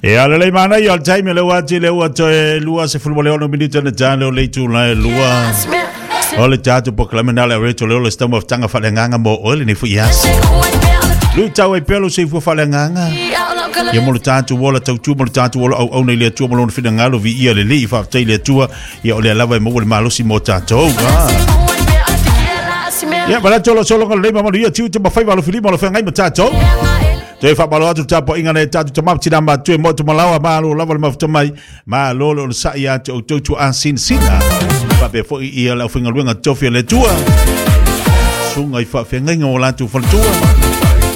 Ia lelei manaia o le taimi o lea ua ati lea ua toe 26 minute na tale o le itula e lua. O le tatou polokalame na le reto leo le stau mafutaga faaleagaga mo oe lenei foi aso. Luitau ai pea lou soifua faaleagaga. Ia mo le tatou ola tautua mo le tatou ola auauna i le Atua ma lona finagalo viia le Alii faafetai i le Atua. Ia o lea lava e maua le malosi mo tatou. Ah. Ia, manatu o lo sologa lelei ma manuia tiute ma faiva alofilima o lo feagai ma tatou. Toe faamalo atu le tapuaiga nai tatou tama ma tina matutua e motu malaoa, malo lava le mafuta mai, malo le onosai ia te outou tuaa sinasina. Faapea foi ia le aufaigaluega tofi a le Atua, susuga i faafeagaiga o latou faletua,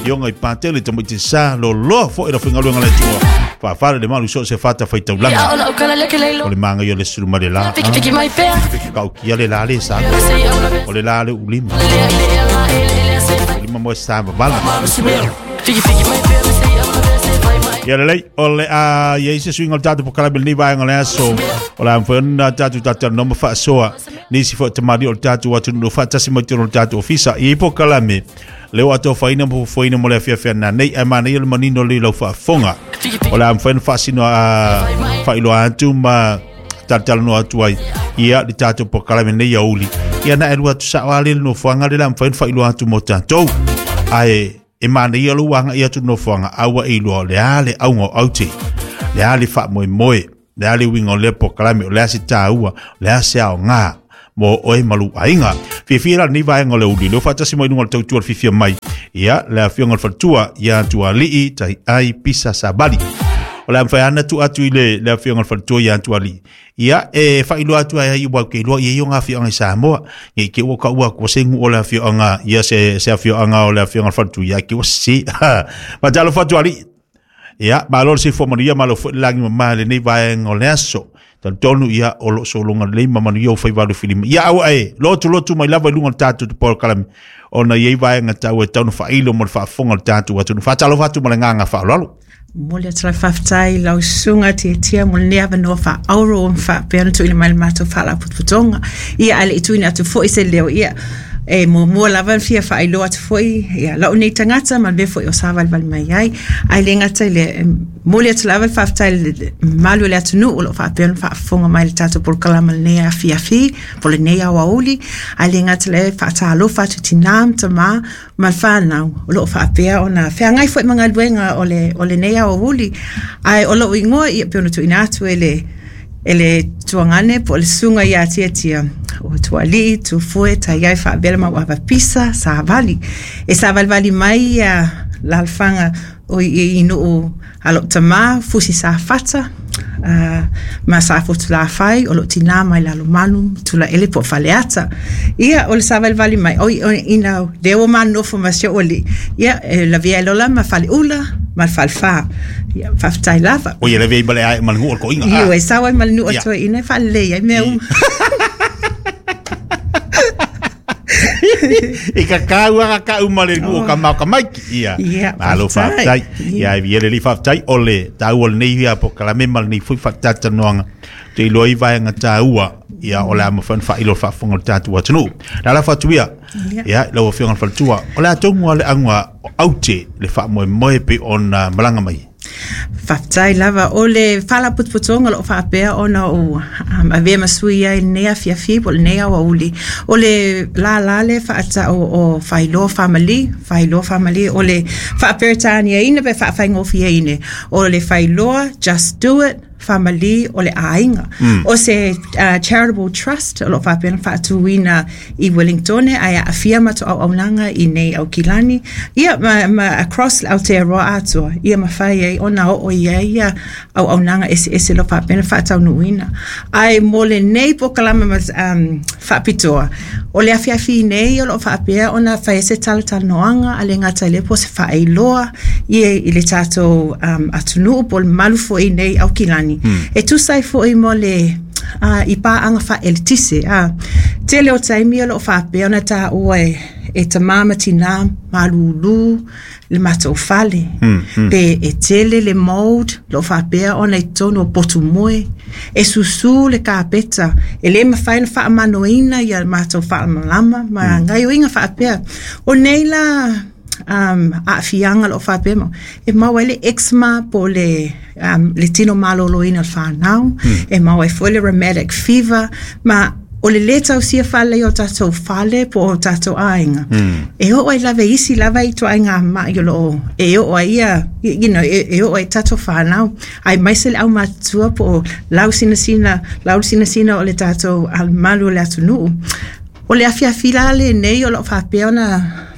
ioga i Patele tamaiti sa, loloa foi le aufaigaluega a le Atua. Faafale le malu so o se fata faitaulaga. O le magaia o le sulu ma le la. Kaukia le la le sa. O le la le ulima. Ulima mo sa vavala. Ia lelei, o le a iai se suiga o le tatou polokalame i lenei vaega o le aso. O le a mafai ona tatou talatalanoa ma faasoa nisi foi o tamalii o le tatou atunuu o faatasi mai totonu o le tatou ofisa. E i ai polokalame lea ua atofaina ma fuafuaina mo le afiafi a nanei, ae manaia le manino lelei o lau faafofoga. O le a mafai ona faasino a faailoa atu ma talatalanoa atu ai ia le tatou polokalame nei aoauli. Ia na e lua atu sao lava le nofoaga lea o le a mafai ona faailoa atu mo tatou. Ae e manaia lou agai atu i le nofoaga a ua e iloa o le a le auga o aute, le a le faamoemoe, le a le uiga o lea polokalame, o le a se taua, o le a se aoga mo oe ma lou aiga. Fiafia la lenei vaega o le aoauli, lea ua faatasi mai i luga o le tautua o le fiafia mai, ia le afioga i le faletua ia Tualii Taiai Pisa Savali. O le a mafai lava ona tuu atu i le, le afioga i le faletua ia Tualii. Ia, e faailoa atu ai aua ou te iloa e i ai ona afioaga i Samoa. Ne i te i ua taua atu se nuu o le afioaga, ia se, se afioaga o le afioga i le faletua, ia te i ua sese. Faatalofa atu alii. Ia, malo le soifua manuia, malo foi le lagi mama i lenei vaega o le aso. Talitonu ia o lo o sologa lelei ma manuia ou faiva alofilima. Ia aua e lotulotu mai lava i luga o le tatou polokalame ona e i ai vaega taua e tatau ona faailo mo le faafofoga o le tatou atunuu. Faatalofa atu ma le agaga faaaloalo. Momoli atu le faafetai i lau susuga Tiatia mo lenei avanoa faaauuro ua faapea ona tuuina mai i le matou faalapotopotoga. Ia, ae le i tuuina atu foi se leo, ia, e muamua lava ona fia faailoa atu foi ia lou nei tagata ma le mea foi o savalivali mai ai. Ae le gata i lea, e momoli atu lava le faafetai i le mamalu o le atunuu o lo o faapea ona faafofoga mai i le tatou polokalame i lenei afiafi po o lenei aoauli. Ae le gata i lea, e faatalofa atu i tina ma tama ma le fanau o lo o faapea ona feagai foi ma galuega o le o lenei aoauli. Ae o lou igoa ia pei ona tuuina atu e le e le tuagane po o le susuga ia Tiatia o Tualii Tufue Taiai Faavela Mauava Pisa Savali. E savalivali mai ia alaalafaga o i, i nuu a lou tamā Fusi Safata ma Safotulafai o lou tinā mai Lalomanu Tulaele po o Faleata. Ia o le savalivali mai oi oi ina lea ua ma nofo ma si ou alii ia e lavea ai loa la ma Faleula ma le Falefa. Ia faafetai lava. Oi e lavea ai ma le ae ma le nuu o le toeaina. Ioe, e sao ai ma le nuu o le toeaina e faalelei ai mea uma. I ka kāua ka kau ma le nuu o ka mao ka maiki. Ia, Ia, malo faafetai. faafetai. Ia, e via lelei faafetai o le taua o lenei ia polokalame ma lenei foi faatalatanoaga. Te iloa ai vaega taua, ia o le a mafai ona faailo le faafofoga o le tatou atunuu. Le ala atu ia, Ia. ia, lau Afioga i le Faletua, o le a tonu lava le auga o aute le faamoemoe pei ona malaga mai. Faafetai lava. O le Faalapotopotoga o lo o faapea ona ou avea ma sui ai i lenei afiafi po o lenei aoauli, o le lala lea e faatau o Failoa Family, Failoa Family, o le faa-Peretaniaina pe faafaigofieina, o le Failoa Just Do It Family o le aiga. O se charitable trust o lo o faapea ona faatuina i Wellingtone ae aafia matou auaunaga i nei Aukilani ia ma, ma across Aotearoa atoa ia mafai ai ona oo i ai ia auaunaga eseese o lo o faapea ona faataunuuina. Ae mo lenei polokalame ma, faapitoa, o le afiafi nei o lo o faapea ona fai ai se talatalanoaga a le gata i lea po o se faailoa i, i le tatou atunuu po o le mamalu foi nei Aukilani e tusa ai foi mo le i paaga faaeletise. Tele o taimi o lo o faapea ona taua e, e tamā ma tinā malūlū le matou fale pe e tele le mould o lo o faapea ona i totonu o potu moe, e susū le kapeta, e le mafai ona faamanoina ia matou faalamalama ma gaoioiga faapea. O nei la aafiaga o loo faapea ma e maua ai le eczema po o le le tino malōlōina o le fanau, e maua ai foi le rheumatic fever ma o le lē tausia faalelei o tatou fale po o tatou aiga, e oo ai lava i isi lava ituaiga ma'i o loo e oo ai ia e oo ai tatou fanau, aemaise le aumatutua po o lausinasina lausinasina o le tatou malu o le atunuu. O le afiafi la lenei o loo faapea ona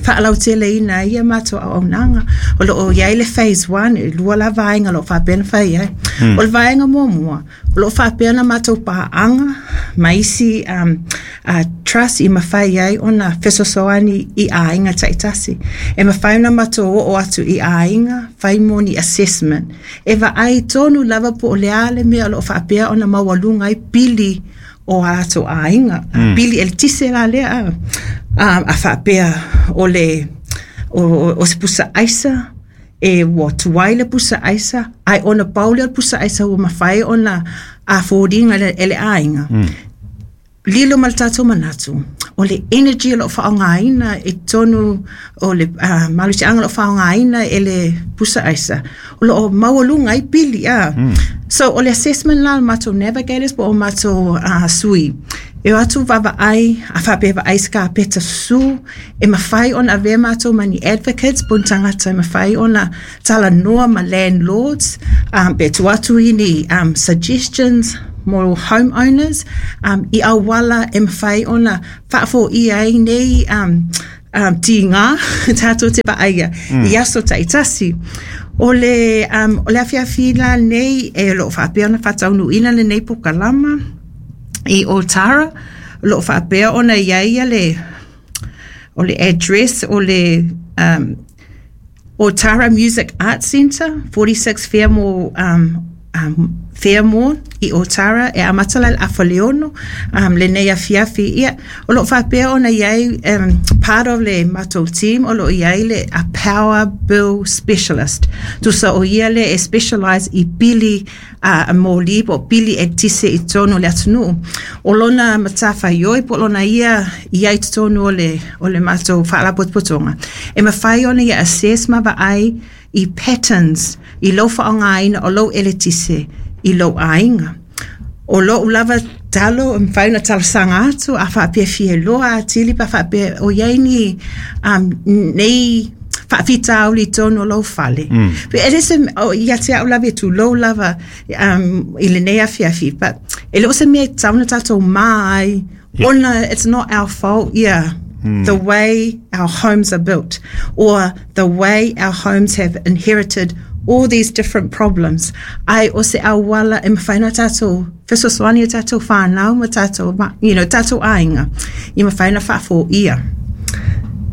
faalauteleina ai ia matou auaunaga. O loo iai le phase 1, e lua la vaega o loo faapea ona fai ai. O le vaega muamua o loo faapea ona matou paaga ma isi trust i mafai ai ona fesoasoani i aiga taitasi. E mafai ona matou oo atu i aiga fai mo ni assessment e vaai tonu lava po o le a le mea o loo faapea ona maualuga ai pili o a latou aiga, pili eletise la lea a faapea o le o se pusa aisa e ua tuai le pusa aisa, ae ona pau lea o le pusa aisa ua mafai ona afford ina e le aiga. Lilo ma le tatou manatu o le energy o loo faaaogaina i totonu o le malosiaga o loo faaaogaina e le pusa aisa o loo maualuga ai pili a. So o le assessment la a matou navigators po o matou sui e o atu vaavaai a faapea vaai i se kapeta susu e mafai ona avea matou ma ni advocates po o ni tagata e mafai ona talanoa ma landlords pe tuu atu i ni suggestions mo home owners i auala e mafai ona faafoia ai nei tiga tatou te vaaia i aso taitasi. O le o le afiafi la lenei e o loo faapea ona faataunuuina lenei polokalama i Otara, o loo faapea ona i ai ia le o le address o le Otara Music Arts Centre, 46 Fairmore Fairmore i Otara, e amata la i le 5:30 lenei afiafi. Ia, o loo faapea ona i ai part of le matou team o loo i ai le a power bill specialist. Tusa o ia lea e specialise i pili a moli po o pili eletise i totonu o le atunuu. O lona matafaioi po o lona ia i ai i totonu o le matou faalapotopotoga, e mafai ona ia assess ma vaai i patterns i lou faaaogaina o lou eletise i lou aiga. O lou lava talo e mafai ona talosaga atu a faapea e fia iloa atili pe a faapea o i ai ni nei faafitauli i totonu o lou fale. E le se ia te au lava e tulou lava i lenei afiafi, but e le o se mea e tatau ona tatou ma ai ona it's not our fault, yeah, the way our homes are built or the way our homes have inherited all these different problems. Ae o se auala e mafai ona tatou fesoasoani i tatou whānau ma tatou, tatou aiga i mafai ona faafoia.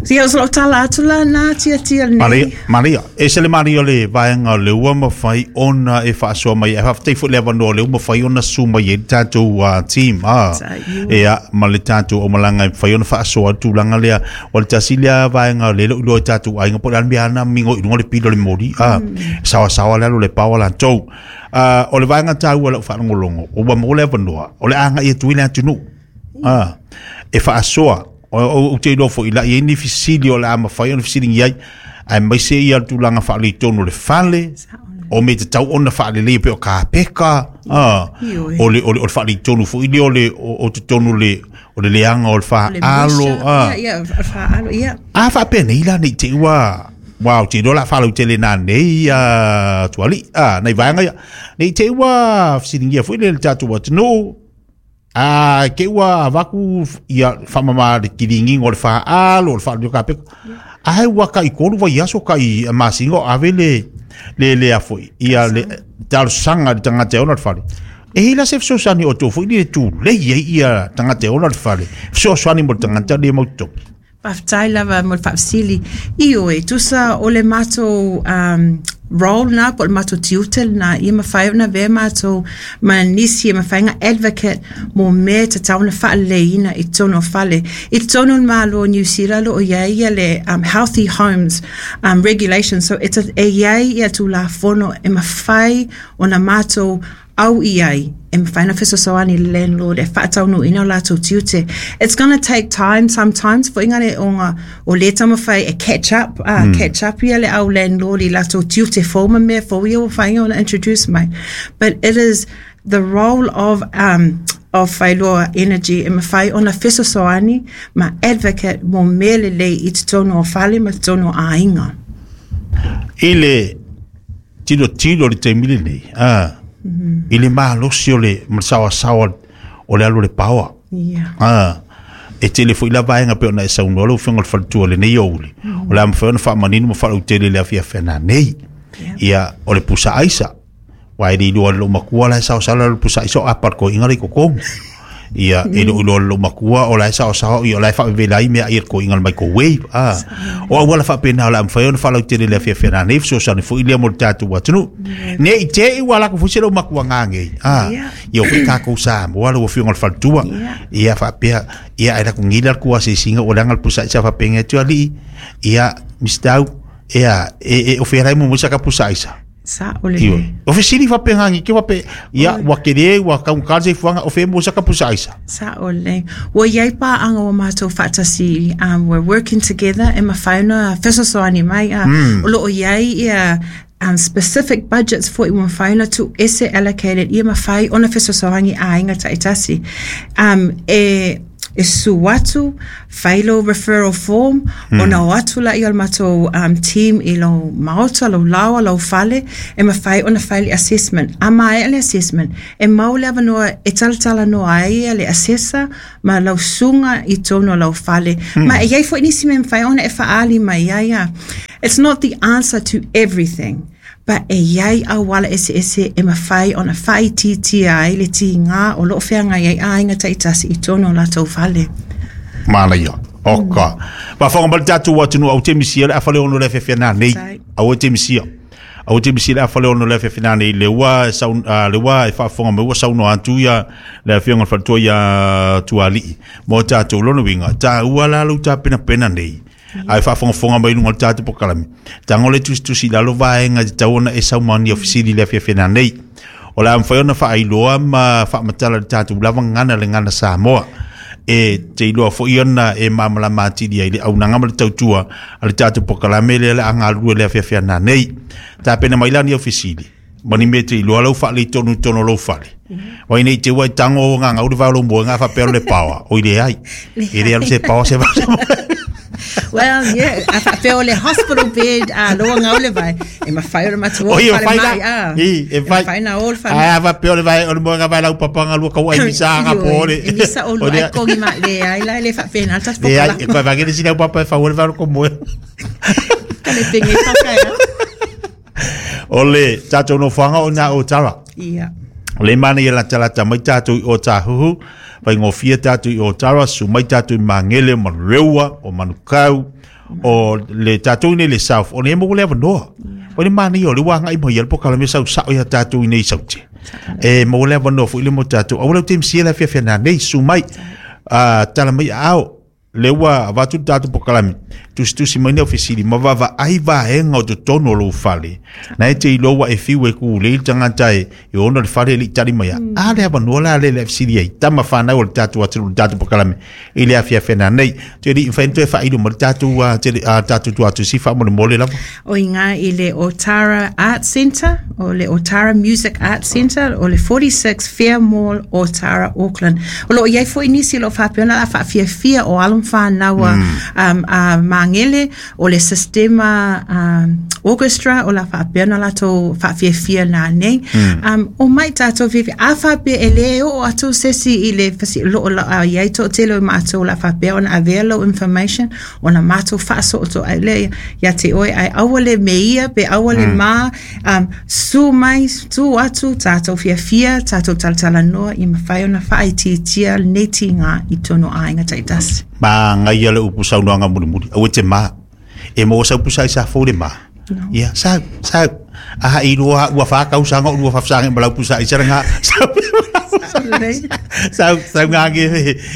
Ia, o lou tala atu la na tia tia nei. Maria, e se le maria o le vaega o le ua mafai ona e faasoa mai. E faafetai foi le avanoa o le ua mafai ona susu mai ai le tatou team. Ia, ma le tatou aumalaga e mafai ona faasoa le tulaga lea. O le tasi lea vaega o le lou iloa i tatou aiga po o le a le mea ana mingo i luga o le pili o le moli. Saoasaoa le alu o le power latou. O le vaega taua i lau faalogologo, ua maua le avanoa, o le agai atu ai le atunuu. E faasoa, ou te iloa foi la i ai ni fesili o le a mafai ona fesiligia ai, aemaise ia le tulaga faaletonu o le fale, o mea tatau ona faaleleia pei o kapeka, o le faaletonu foi lea o le o totonu o le leaga o le faalo. Ia, o le faalo, ia. A faapenei la nei te i ua Wow, te iloa o le a faalautele nanei tuali, nai vaega ia. Nei te i ua fesiligia foi le tatou atunuu, a ke ua avaku ia faamama le kiligiga o le faalo, o le faalo o kapeka. Ae ua kai 3 vaiaso kai masina o ave le a foi ia le talosaga i le tagata e ona le fale. E i ai la se fesoasoani o outou foi le tulei ai ia tagata e ona le fale, fesoasoani mo le tagata le mau totogi. Faafetai lava mo le faafesili. Ioe, tusa o le matou role na po o le matou tiute lena ia mafai ona avea matou ma nisi e mafai ona advocate mo mea e tatau ona faaleleiina i totonu o fale. I totonu o le Malo o Niu Sila o lo o i ai ia le Healthy Homes Regulations, so e i ai ia Tulafono e mafai ona matou. ʻau i ai e mafai ona fesoasoani i le landlord e faataunuuina o latou tiute. It's gonna take time sometimes foʻiga le ona o lē taumafai e catch up a catch up ia le au landlord i latou tiute fou ma mea fou ia ua mafai ona introduce mai. But it is the role of um of Whailoa Energy e mafai ona fesoasoani ma advocate mo mea lelei i totonu o fale ma totonu o aiga. I le tilotilo i le taimi lenei, a, i le malosi o le ma le saoasaoa o le alu o le paoa. Yeah. A, e tele foi la vaega pei ona e saunoa lau Afioga i le Faletua i lenei aoauli, o le a mafai ona faamanino ma faalautele i le afiafi ana nei. Ia, o le pusa aisa, aua e le iloa e lou matua la e saosaoa le pusa aisa o apa le toeaina la i totonu. Ia, e le o iloa e lou matua o la e saosaoa, ia o la e faavevela ai meaai a le toeaina i le microwave. A, o auala faapena o le a mafai ona faalautele i le afiafi ana nei, fesoasoani foi lea mo le tatou atunuu. Ne i te i ua alu atu foi si lou matua gagei. A, ia o foi tatou Samoa lau Afioga i le Faletua. Ia faapea, ia ae latou nei le alu atu asiasiga ua leaga le pusa aisa faapea atu alii, ia Mr. Au, ia e o fea la e muamua sa ka pusa aisa. Sa o le. O fesili faapena ni ke faapea, ia ua tele ua taugata le soifuaga o fea e maua ai saka pusa aisa. Sa o le. Ua i ai paaga ua matou faatasi, we're working together e mafai ona fesoasoani mai, o lo o i ai ia specific budgets foi ua mafai ona tuuese allocated ia mafai ona fesoasoani i aiga taitasi. E e susu atu, fai lou referral form, ona o atu laia o le matou team i lou maota, lou laoa, lou fale, e mafai ona fai le assessment. A maea le assessment, e mau le avanoa e talatalanoa ai le assessor ma lau susuga i totonu o lau fale. Ma e i ai foi nisi mea e mafai ona e faaali mai ai. It's not the answer to everything. But e i ai auala eseese e mafai ona faaitiitia ai le tiga o lo o feagai ai aiga taitasi i totonu o latou fale. Manaia. Oka. Faafofoga mai le tatou atunuu au te misia le afa le ono le afiafi nei. Au te misia. Au te misia le afa le ono le afiafi nei le ua sau le ua e faafofoga mai ua saunoa atu ia le afioga i le faletua ia Tualii mo tatou lona uiga taua la lou tapenapena nei. Ae faafogafoga mai i luga o le tatou polokalame, tago le tusitusi i lalo vaega e tatau ona e saunoa fesili i le afiafi nanei. O le a mafai ona faailoa ma faamatala i le tatou lava gagana le gagana Samoa. E te iloa foi ona e malamalama atili ai le auaunaga ma le tautua a le tatou polokalame lea o le a galulue i le afiafi nanei. Tapena mai la ni au fesili ma ni mea e te iloa lau faaletonu i totonu o lou fale. Wai nei te ua e tango ngā ngau le vao lou moenga faapea o le paoa. Oi leai. E le alu se paoa se vao se moe. Well, yeah, a faapea o le hospital bed a loa ngau le vai. E mafai ona matou o Oi, i e fale mafai mai, la. a. I, e E mafai. mafai na o le fale Ae a faapea o le vai o le moenga vai lau papanga lua kau ai misa nga po le. E misa o O lua lea- ai kongi ma le ai la e le faapena le tatou Le ai, polokalame. e koe vagele sina au papa e fau le vai o le komoe. Ka le penge whakaea. O le tatou nofoaga o na o Tara. Ia. O le mana ia latalata mai tatou i Ōtāhuhu, faigofie tatou i Ōtara, susu mai tatou i Magele, o Manurewa, o Manukau, o le tatou i nei le South, o nei maua le avanoa. O le mana ia o le ua agai mai ia le polokalame sau sao ia tatou i nei i Saute. E maua le avanoa foi le mo tatou. Aua lau te misia le afiafi nanei, susu mai, tala mai aao, Lea ua avatu le tatou polokalame, tusitusi mai ni au fesili ma vaavaai vaega o totonu o lou fale. Na e te iloa ua e fiu e kulei le tagata e e ona le fale e le i tali mai. A le avanoa la lea le fesili ai. Tama whanau o le tatou atunuu le tatou polokalame i le afiafi nanei. Te ri mafai ona toe faailo mai le tatou tele tatou tuatusi faamolemole lava. O iga i le Otara Art Centre, o le Otara Music Art Centre, o le 46 Fair Mall, Otara, Auckland. O lo o i ai foi nisi o lo o faapea ona o le a faafiafia o alo ma fanau a, a Magele, o le sistema orchestra o le a faapea ona latou faafiafia nanei. Omai tatou fiafia. A faapea e le oo atu se isi i le fasi, o lo o i ai toatele o matou o le a faapea ona avea lou information, Ona matou faasootoo ai lea ia te oe, ae aua le me ia pe aua le ma, susu mai, tu atu, tatou fiafia, tatou talatalanoa ia mafai ona faaitiitia lenei tiga i totonu o aiga taitasi. Manaia le upu saunoaga mulimuli, aua e te ma. E maua sau pusa i sa fou le ma. No. Ia, sau, sau. A iloa ua wha kausaga o lua whawhasanga ma lau pusa i saranga. Sau. Sau sau ngā nge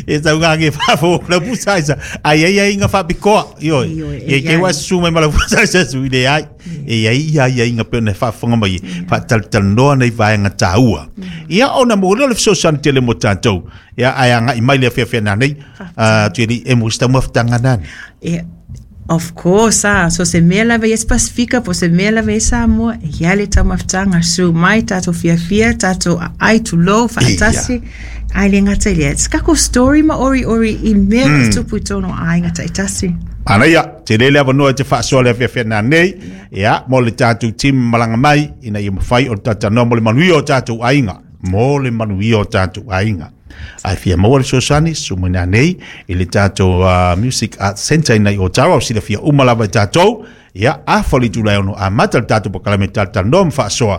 e sau ngā nge whafo lau pusa isa. Ai ai ai ngā whapikoa. Ioi. E ke wa su mai ma lau pusa isa su i le ai. E ai ia ia inga pe ona whaafonga mai. Whaatalitalanoa nei vaenga tāua. Ia ona mo le fesoasoani tele mo tātou. Ia ai anga i mai le awhiawhia nā nei. Tueli e mo sta mafutanga nani. Yeah. Of course, ah. So se mea lava ia se Pasifika, po se mea lava ia Samoa, e ia le taumafutaga, su mai tātou fiafia, tātou aai tulou, whaatasi, ai le ngata i lea. It's kako story ma ori ori i mea mm. tupu i tōno aiga taitasi. Ana ia, te lele avanoa te whaasoa le awhiawhia nā nei, ia, mo le tātou team malanga mai, ina ia mawhai o le tātou mo le manuia o tātou aiga. Mo le manuia o tātou aiga. Ai fia maua le fesoasoani, susu mai nanei i le tātou Music Arts Centre ina i Otawa, o silafia uma lava i tātou. Ia, afa le itula e ono amata le tātou polokalame talatalanoa ma faasoa.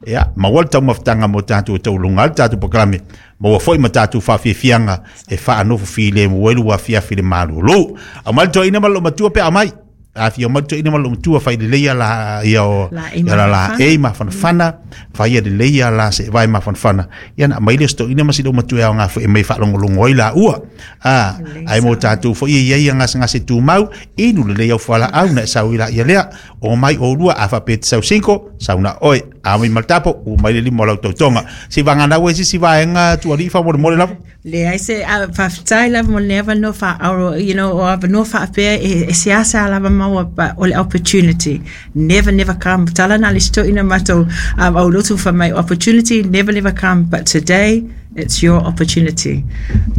Ia, maua le taumafataga mo tātou e taualunga ai le tātou polokalame. Maua foi ma tātou faafiafiaga e faanofo filemu ai le afiafi le malolo. Aumai le toeaina ma le loomatua pe a aumai. Afio mai toeaina ma le loomatua fai lelei ia la ia o La e ia la la mafanafana. e mafanafana fai ia lelei ia la se vai mafanafana ia na aumai lea o se toeaina ma si loomatua e aoga foi e mai faalogologo ai laua. A ai mo tātou foi e iai ia gasegase tumau inu lelei au fualaau na e sau ai laia lea. O mai oulua a faapea e te sau sinko sau na oe a mai ma le tapo ua mai le lima o lau tautoga. Se i vagana ua e se isi vaega tualii faamolemole lava. Leai se faafetai lava mo lenei avanoa faauro, you know, o avanoa faapea e, e seasea lava maua, but o le opportunity never never come. Tala na le isi toeaina matou aulotu fai mai, opportunity never never come, but today it's your opportunity.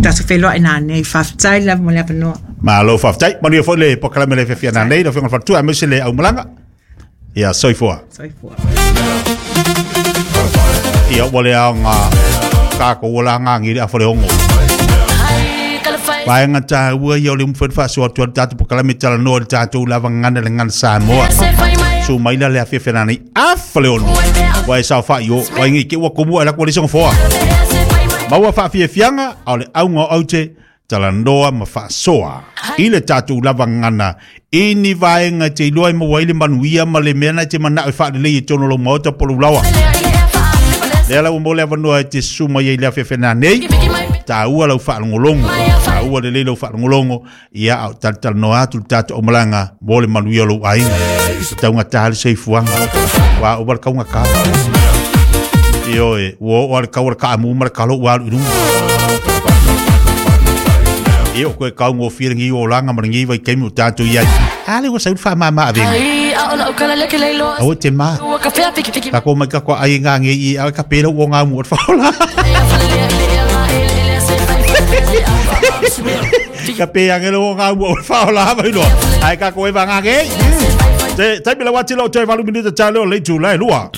Tatou feiloai nanei, faafetai lava mo le avanoa. Malo faafetai. Manuia foi le polokalame le fiafia nanei, lau Afioga i le Faletua, aemaise le aumalaga. Ia, soifua. Soifua. Ia, ua le aoga kākou ua la ngāngi le afa le ongo. Vaega tāua ia o le umawhai whaasoa atu le tātou polokalame talanoa i le tātou lava gagana le gagana Samoa. Su mai la le afiafi nanei afa le ono. Ua e sao whai o, wai ngi ke ua komu ai la kua le songa foa. Maua whaafiafianga, au le aunga o aute, talanoa ma faasoa i le tatou lava gagana i ni vaega e te iloa e maua ai le manuia ma le mea na e te manao e faalelei i totonu o lou maota po o lou laoa. Lea la ua maua le avanoa e te susu mai ai i le afiafi nanei, taua lau faalogologo, taua lelei lau faalogologo, ia a o talatalanoa atu le tatou aumalaga mo le manuia o lou aiga. Taugata le soifuaga, ua ova le taugata. Ioe, ua oo lava le tau o le kaamu ma le talo ua alu i luga. Ia o koe taugofie lenei olaga ma lenei vaitaimi o tatou i ai. A lea ua sau le faamama avega. Aua te ma. Takou mai takou ai ngā nge i a ka pēra o ngā mua whaola. Ka pē angelo o ngā mua o whaola mai loa. Ai ka koe vanga nge. Te taimi la wati lo te valu minuta talo le tula e lua.